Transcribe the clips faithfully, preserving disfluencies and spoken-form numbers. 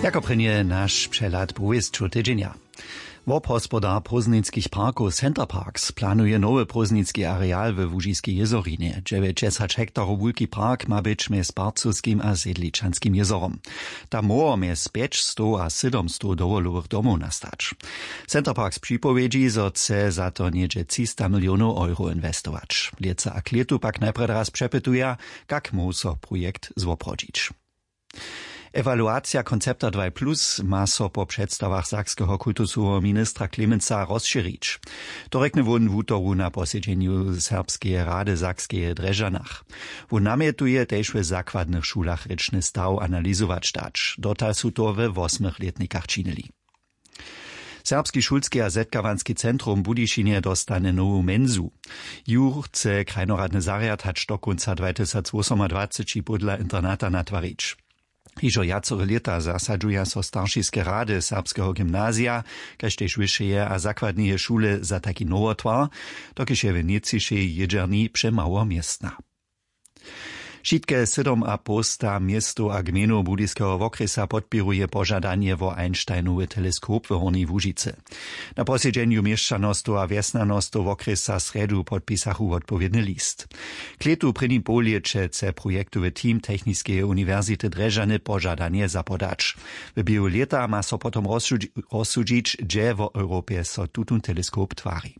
Jako prěnje naš přehlad powěsćow tydźenja. Wobhospodar prózdninskich parkow Center Parks planuje nowy prózdninski areal we Łužiskej jězorinje, dźewjećdźesać hektarow wulki park ma być mjez Parcowskim a Sedličanskim jězorom. Tam móhło mjez pjećstow a sydomstow dowolowych domow nastać. Center Parks připowědźi, zo chce za to něhdźe třista milionow euro inwestować. Lětsa a klětu pak najprjedy raz přepytuja, kak móhł so projekt zwoprawdźić. Ewaluacija koncepta dwaj plus ma so po předstawach sakskeho kultusoweho ministra Klemensa rozšěrić. To rjekny wón wutoru na posedźenju Serbskeje rady w Sakskeje Drježdźanach. Wón namjetuje tež w zakładnych šulach rěčny staw analizować dać. Dotal su to we wosmych lětnikach činili. Serbski šulski a zetkawanski centrum w Budyšinje dostane nowu mensu. Ju chce krajnoradny zarjad hač do kónca dwatysacwosomadwaceći pódla internata natwarić. Hižo wjacore lěta zasadźuja so staršiske rady serbskeho gymnazija, kaž tež wyšeje a zakładneje šule, za taki nowotwar, dokelž je w nětřišej jědźerni přemało městna. Wšitke sydomapołsta městow a gmejnow Budyskeho wokrjesa podpěruje požadanje wo Einsteinowy teleskop w Hornjej Łužicy. Na posedźenju měšćanostow a wjesnjanostow wokrjesa srjedu podpisachu wotpowědny list. Klětu w prěnim połlěće chce projektowy team Techniskeje uniwersity Drježdźany požadanje zapodać. W běhu lěta ma so potom rozsudź-, rozsudźić, hdźe wo Europje so tutón teleskop twari.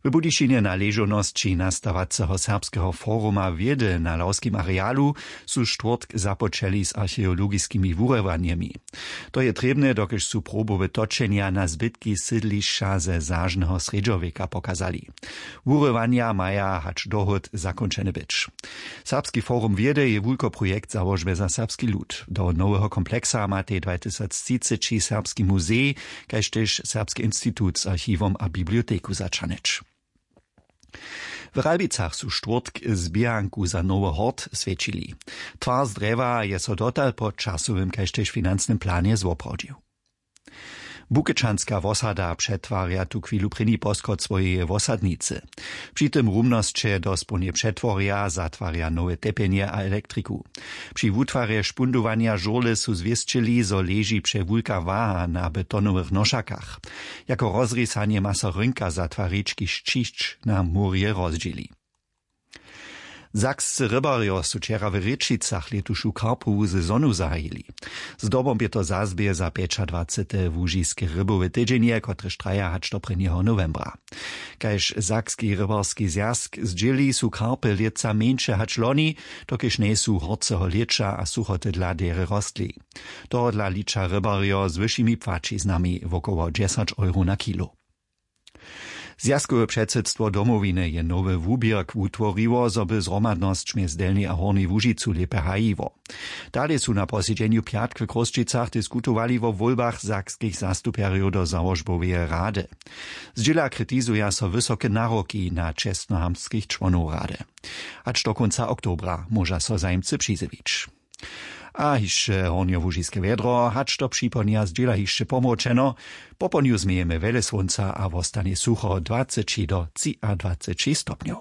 W Budyšinje na ležownosći nastawaceho serbskeho foruma wědy na lawskim arealu su štwórtk započeli z archeologiskimi wurywanjemi. To je trěbne, dokelž su probowe točenja na zbytki sydlišća ze zažneho srjedźowjeka pokazali. Wurywanja maja hač dohód zakónčene być. Serbski forum wědy je wulkoprojekt załožby za serbski lud. Do noweho kompleksa matej dwatysactřiceći serbski muzej, kaž tež serbski institut z archiwom a biblioteku zaćahnyć. W Ralbicach su štwórtk zběhanku za nowy hort swjećili. Twar z drjewa je so dotal po časowym kaž tež financnym planje zwoprawdźił. Bukečanska wosada přetwarja tu chwilu prěni poschod swojeje wosadnicy. Při tym rumnosće dospołnje přetworja, zatwarja nowe tepjenje a elektriku. Při wutwarje špundowanja žurle su zwěsćili, zo leži přewulka waha na betonowych nošakach. Jako rozrisanje ma so rynka zatwarić, kiž ćišć na murje rozdźěli. Sakscy rybarjo su wčera w Rěčicach lětušu karpowu sezonu zahajili. Zdobom bě to zazběh za pjećadwacete łužiske rybowe tydźenje, kotrež traja hač do prěnjeho nowembra. Kaž Sakski rybarski zwjazk zdźěli, su karpy lětsa mjeńše hač loni, dokelž njejsu horceho lěća a suchoty dla derje rostli. Tohodla liča rybarjo z wyšimi płaćiznami, wokoło dźesać euro na kilo. Zwjazkowe předsydstwo Domowiny je nowy wuběrk wutworiło, zo by zhromadnosć mjez Delnjej a Hornjej Łužicu lěpje hajiło. Dale su na posedźenju pjatk w Chrósćicach diskutowali wo wólbach sakskich zastupjerjow do załožboweje rady. Zdźěla kritizuja so wysoke naroki na čestnohamtskich čłonow rady. Hač do kónca oktobra móža so zajimcy přizjewić. A hišće hornjołužiske wjedro, hač do připołdnja zdźěla hišće pomročeno. Popołdnju změjemy wjele słónca a wostanje sucho, dwaceći do třiadwaceći stopnjow.